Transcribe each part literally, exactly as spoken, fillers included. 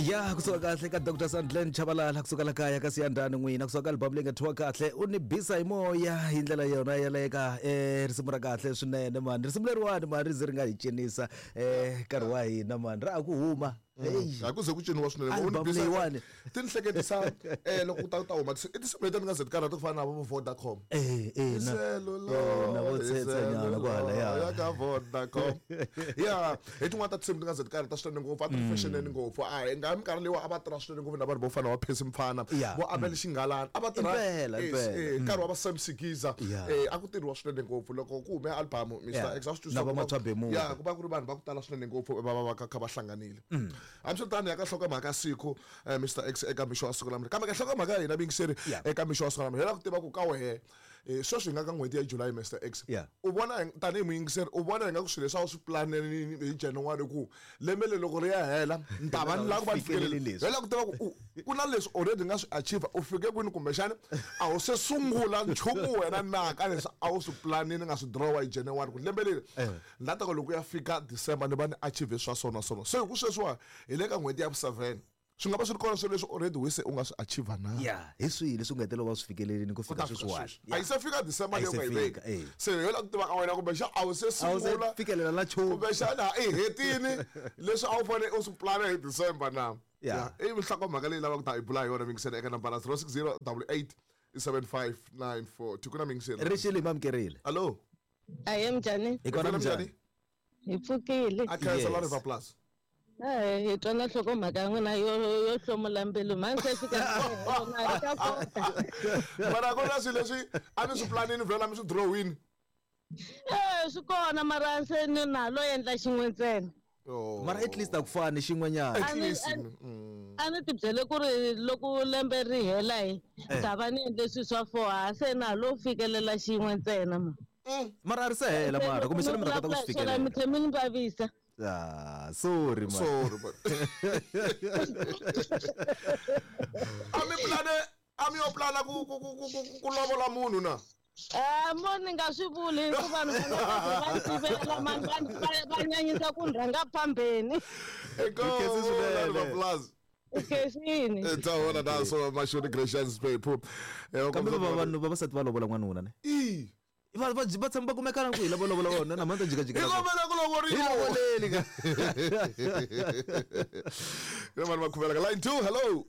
Ya kusuka kahle ka Doctor Sandlen Chabalala kusuka la kaya ka Siyandani n'wina kusuka ka album leyi nga thyiwa kahle u ni bisa hi moya hi ndlela yona yaleyo ka eh risimu ra kahle swinene mani risimu leriwani mani ri ze ri nga hi cinisa eh nkarhi wa hina mani ra ha ku huma. A ku ze ku ciniwa swinene album leyiwani ti ni hleketisa eh loko u ta ta huma i tinsimu leti ni nga ze ti karhata ku fana na vo Vodacom eh eh na na vo tsetsenyana kwala ya ya ka Vodacom ya hi tin'wana ta tinsimu ti nga ze ti karhata swinene ngopfu a ti ri fashioneni ngopfu a hi nga minkarhi leyiwa a va tirha swinene ngopfu na vanhu vo fana wa Percy Mfana vo Abel Xingalana a va tirha nkarhi wa va Sam Sigiza eh a ku tirhiwa swinene ngopfu loko ku hume album Mister Exhaust na va Mathwa Bemuka ya ku va ku ri vanhu va ku tala swinene ngopfu va va va kha va hlanganile. Hambiswiritano ya ka nhlokomhaka siku Mister X eka mixo wa siku namuntlha kambe ka nhlokomhaka ya hina vingiseri eka mixo wa siku namuntlha hi lava ku tiva ku ka wehe sweswi hi nga ka n'hweti ya July Mister X u vona tanihi muyingiseri u vona hi nga ku swilo leswi a wu swi planeni hi January ku lembe leri loko ri ya hela ni ta va ni lava ku va ni fikelele leswi hi lava ku tiva ku ku na leswi already nga swi achieve u fike kwini kumbexana a wu se sungula nchumu wena na ka leswi a wu swi planini nga swi drawa hi January ku lembe leri ni la ta ku loko ya fika December ni va ni achieve swa sona sona se hi ku sweswiwa hi le ka n'hweti ya vu-seven swi nga va swi ri kona swilo leswi already we se u nga swi achieve na ya hi swihi leswi u nga hetelela va swi fikelelini ku fika sweswiwani a yi se fika December leyi u nga yi veka se yo la ku tiva ka wena kumbexana a wu se sungula fikelela na nchumu kumbexana i hetini leswi a wu fanele u swi plana hi December na ya i nhlokomhaka leyi lavaka ku ta hi bula hi yona mingisela eka nambara zero six zero double eight seven five nine four two ku na mingisela rixile mamkerile hallo aye mjani hi kona mjani hi pfukile a khensa la River Plus eh hi twa na nhlokomhaka ya n'wina yo yo hlomula mbilu mhani se fika na ka kota mara ku na swilo leswi a mi swi planini vhela mi swi drawini eh swi kona mara se ni na lo endla xin'we ntsena mara at least a ku fani xin'wenyana at least a ni ti byele ku ri loko lembe ri hela hi ta va ni endle swilo swa four ha se na lo fikelela xin'we ntsena ma mara a ri se hela mara kumbe xana mi ta kota ku swi fikelela mi tlhe mi ni vavisa. Ah, sorry man. Sorry man. A mi plane a mi yo plana ku ku ku ku ku lovola munhu na Eh mo ni nga swi vuli ku vanhu va tivela mani va nyanyisa ku rhanga phambeni. Eko Plus. Ukesini. Tawona da so mashoni Gracious Pepo. Kambe vanhu vavasati va lovola n'wanuna ne? I va va va tshama va kumekana ku hi lava lovola vona na mhani ta jikajika. Hi kombela ku lovoriwa. Hi lovoleni ka. Hi vanhu va khuvela ka line two hello.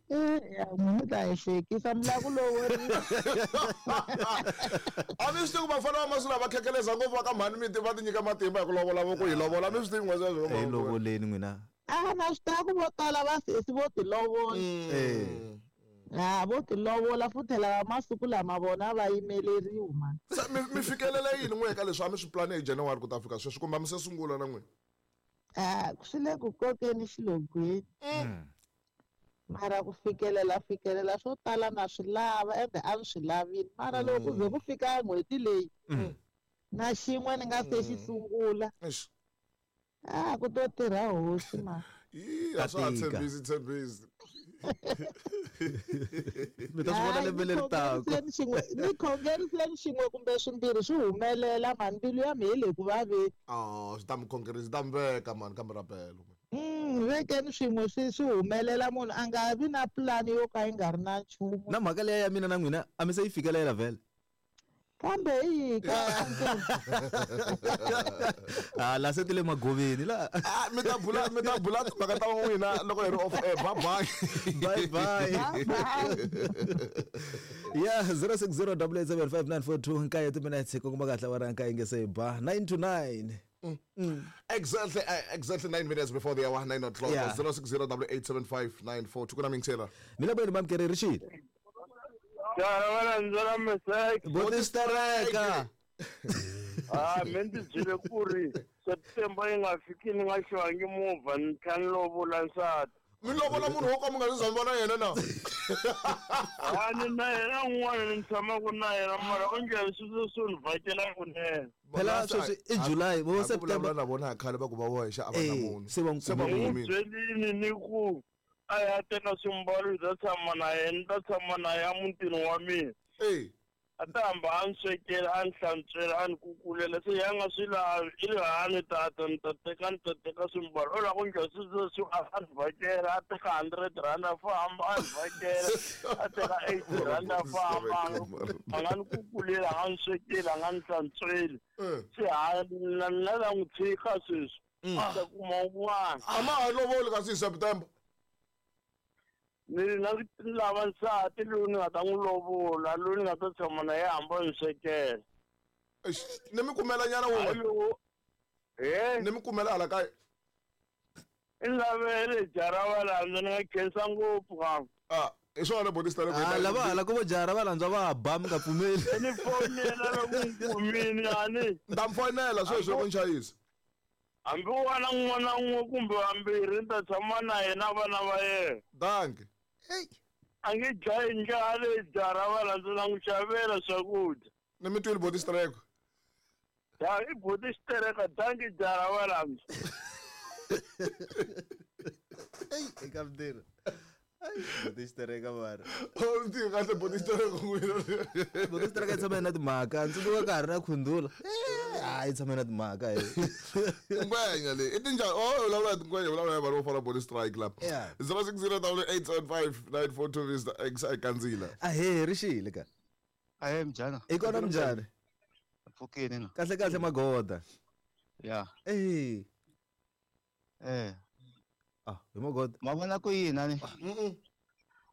Eh ya munhu ta hi hlekisa mi lava ku lovoriwa. A mi swi tivi ku vafana va masiku lawa va khekheleza ngopfu va ka mhani mi va ti nyika matimba hi ku lovola vo ku hi lovola mi swi tivi n'we sweswo. Hi lovoleni n'wina. A na swi tiva ku vo tala va sesi vo ti lovola. Eh. Ah vo ti lovola futhi lava masiku lama vona va yimeleriwa mani. Se mi mi fikelela yini n'we ka leswi a mi swi plane hi January ku ta fika sweswi kumbe a mi se sungula na n'wina? Ah swi le ku kokeni xilogweni. Mara ku fikelela fikelela swo tala na swi lava ende a swi lavini mara loko ku ze ku fika n'hweti leyi na xin'we ni nga se xi sungula. Ah ku to tirha hosi ma. Ii a swa ha tshembisi tshembisi. Mi ta swi vona lembe leri taka. Ni khongeriseni xin'we kumbe swimbirhi swi humelela mani mbilu ya mina yi le ku vaveni. Oh swi ta mi khongerisa swi ta mi veka mani kambe rapelo. Mm vekeni swin'we swi swi humelela munhu a nga vi na plan yo ka yi nga ri na nchumu. Na mhaka leya ya mina na n'wina a mi se yi fikelela vhele. Kambe hi ka ah la se tile magoveni la ah mi ta bula mi ta bula timhaka ta n'wina loko hi ri off air bye bye bye bye yeah zero six zero double eight seven five nine four two nkaye timinutes ku kuma kahle wa ranka inge se ba nine to nine. Mm. Mm. Exactly, uh, exactly nine minutes before the hour, nine o'clock. Yeah. Zero six zero double eight seven five nine four. Tukuna mingisela. Mina bwenu mamkere Rashid. Ya ndzela mesek. Botistereka. Ah, mendi jile kuri September yi nga fiki ni nga xwangi movha ni tlhela ni lovola nsati. Mi lovola munhu wo ka mi nga zi vona yena na? Ah, ni na yena un'wana ni tshamaka na yena mara onge sweswo swo ni vhakela kunene. Phela sweswi i July vo September na vona khale va ku va voxa a va na munhu. Se va n'wi kumile. Byelini ni ku a ya teka swimbalo hi ta tshama na yena ni ta tshama na yena mutini wa mina. Eh. A ta hamba a ni swekela a ni hlantswela a ni kukulela se ya nga swi lavi i ri hani tata ni ta teka ni ta teka swimbalo u lava ku ndla sweswi a ni vhakela a teka hundred rand a famba a ni vhakela a teka eighty rand a famba a nga ni kukulela a nga ni swekeli a nga ni hlantsweli se ha na na la n'wi tshika sweswi a ta kuma un'wana a ma ha lovoli kasi hi September ni na lava nsati loyi ni nga ta n'wi lovola loyi ni nga ta tshama na yena hamba ni swekela ni mi kumela nyana wun'we e ni mi kumela hala kaya i lavele jara va landza ni nga khensa ngopfu ka a hi swona bonista ah lava hala ku vo jara va landza va ba mi nga pfumeli ni fonela loko ni kumini ani ni ta mi fonela sweswi loko ni chayisa hambi wa na n'wana n'we kumbe vambirhi ni ta tshama na yena vana va yena danki a nge dlayi ndlala jara va landza na n'wi xavela swakudya ni mi twile boti xitereko ya i boti xitereka danki jara va landza ei eka mdira boti xitereka mara o ndzi kahle boti xitereko n'wina boti xitereka yi tshama na timhaka ndzi tsundzuka ka ha ri na khundula hayi tshama na timhaka ngwenya leyi i tinjhani o vulavula hi tingwenya vulavula hi vanhu vo fana boti strike la zero six zero double eight seven five nine four two Mister X a kandzila ahee ri xile ka ahee mjana i kona mjani pfukini na kahle kahle magoda ya eh eh ah hi magoda ma vona ku yini ani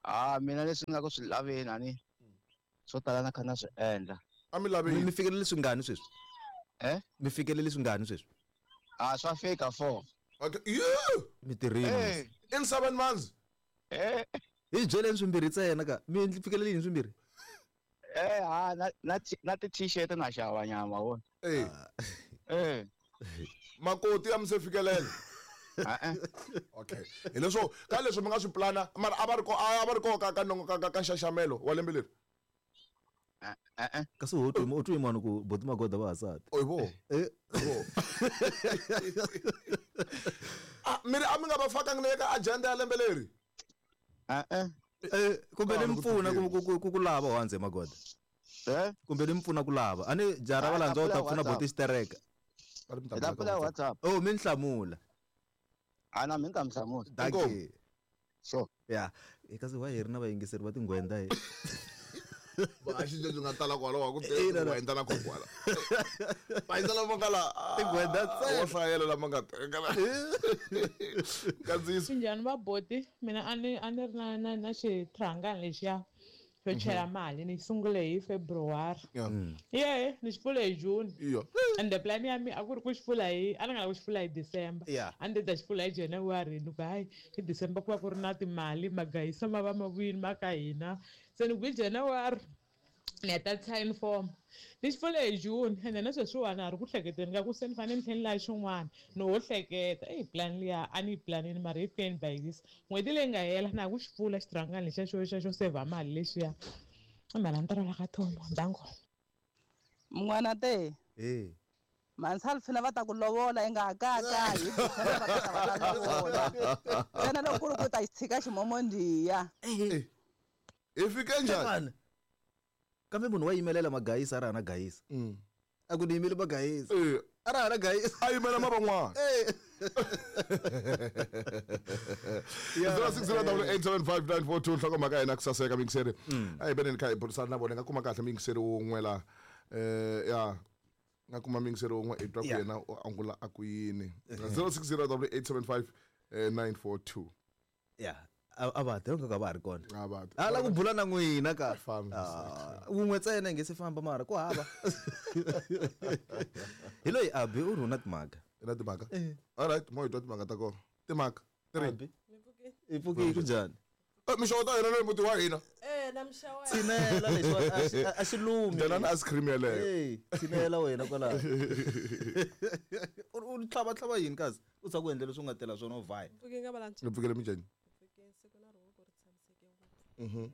ah mina leswi nga ku swi laveni ani swo tala na kha na swi endla a mi laveni mi fikelele swingani sweswi eh mi fikelele swingani sweswi ah swa fika four okay yeah mi tirhile in seven months eh hi byeleni swimbirhi ntsena ka mi fikelele yini swimbirhi eh ha na na na ti t-shirt na xava nyama wona eh eh makoti ya mi se fikelela eh okay hi leswo ka leswi mi nga swi plana mara a va ri ko a va ri ko ka ka nongo ka ka nxaxamelo wa lembe leri eh eh kasi u twi u twi mani ku boti magoda va hasati o bo eh bo ah mi ri a mi nga va fakangi na ka agenda ya lembe leri eh eh eh kumbe ni mpfuna ku ku ku lava wanze magoda eh kumbe ni mpfuna ku lava ani jara va landza u ta pfuna boti xitereka hi ta pfula WhatsApp oh mi nhlamula ana mi nga mhlamula danki sure ya kasi wa hi ri na vayingiseri va tinghwenda hi vaxi byi nga tala kwalaho ku tingwenda na kokwana vayingisela lama nga la tinghwenda ntsena wo hlayela lama nga teka nkandziyiso njhani va boti mina a ni a ni ri na na na xitrhangani lexiya xo chela mali ni sungule hi February ye ni xi pfule hi June and the plan ya mi a ku ri ku xi pfula hi a ni nga lava ku xi pfula hi December a ni ta xi pfula hi January ni ku hayi hi December ku va ku ri na timali magayisa ma va ma vuyini ma ka hina se ni ku hi January ni ya tatisa uniform ni xi pfule hi June ende na sweswiwani a ri ku hleketeni ka ku se ni fanele ni tlhela ni lava xin'wana ni ho hleketa eyi plan liya a ni yi planini mara hi fikeni by this n'hweti leyi nga hela na ha ku xi pfula xirhangani lexiya xo xa xo sevha mali lexiya i mali a ni ta rhwala ka thomo ndango mun'wana te eh mansalfina va ta ku lovola i nga ha kakayi hi va ta va ta lovola ntsena loko ku ri ku ta xi tshika ximomondiya hi fike njhani kambe munhu wa yimelela magayisa a ri hana gayisa a ku ni yimele magayisa a ri hana gayisa a yimela ma van'wana zero six zero double eight seven five nine four two nhlokomhaka ya hina ku saseka miyingiseri a hi veneni kha hi burisana na vona hi nga kuma kahle miyingiseri wun'we la um ya nga kuma miyingiseri wun'we hi twa ku yena u angula a ku yini zero six zero double eight seven five nine four two ya a va ti nga va ha ri kona a va a la ku bula na n'wina ka wun'we ntsena hi nge se famba mara ku hava hi loyi abi u ri u na timhaka na timhaka alright mo hi twa timhaka ta kona timhaka three hi pfukile ku njhani mixavo ta hina na muti wa hina tshinela lexi a xi lumi dyana na ice cream yeleyo tshinela wena kwalaho u tlhavatlhava yini kasi u tshama ku endla leswi u nga tela swona u vhaya ni pfukile minjhani Mhm.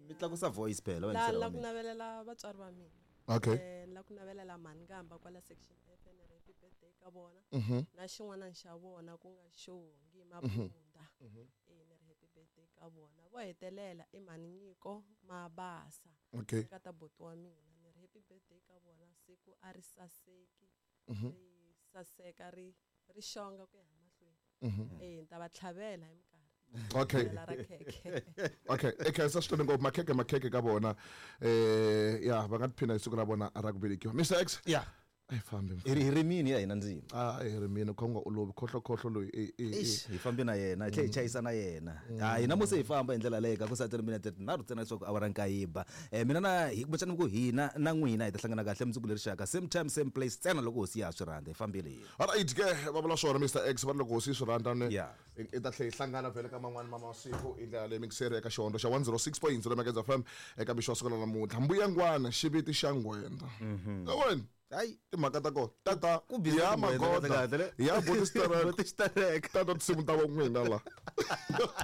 Mi tlakusa voice phela la la ku navelela vatswari va mina. Okay. Eh la ku navelela mhani kamba kwala section F ni ri happy birthday ka vona. Mhm. Na xin'wana xa vona ku nga Xongi Mabunda. Eh ni ri happy birthday ka vona. Vo hetelela i mhani Nyiko Mabasa. Okay. Ka buti wa mina ni ri happy birthday ka vona, siku a ri saseki, Mhm. ri saseka ri ri xonga ku ya mahlweni. Mhm. Eh ni ta va tlhavela hi minkarhi. Okay. Tlhavela ra khekhe. Okay, e khensa swinene ngopfu, makhekhe makhekhe ka vona. Eh ya va nga tiphina hi siku ra vona ra ku velekiwa. Mister X. Yeah. A hi fambi. Hi ri hi ri mini ya hina ndzima. Ah, hi ri mini kho nga olovi khohlo khohlo loyi e e. Eish, hi fambi na yena hi tlhe hi chayisa na yena. Ha hina musi hi famba hi ndlela leyi ka ku sa thirty minutes tinharhu ntsena leswaku awara nkaye ba. Eh mina na hi kumbexana ku hina na n'wina hi ta hlangana kahle mundzuku leri xaka same time same place ntsena loko hosi ya ha swi rhandza hi fambile hina. Alright ke va vula swona Mister X va ri loko hosi yi swi rhandza ne. Yeah. I ta tlhela hi hlangana vhele ka man'wani ma masiku hi ndlela leyi mixeri eka xihondlo xa one zero six point zero Mageza F M eka mixo wa siku ra namuntlha. Mbuyangwana xiviti xa ngwenda. Wena Hayi timhaka ta kona tata Ku busy ya tingwenda magoda kahle kahle le. ya boti sterek Boti sterek. tata tinsimu ta vo n'wina la.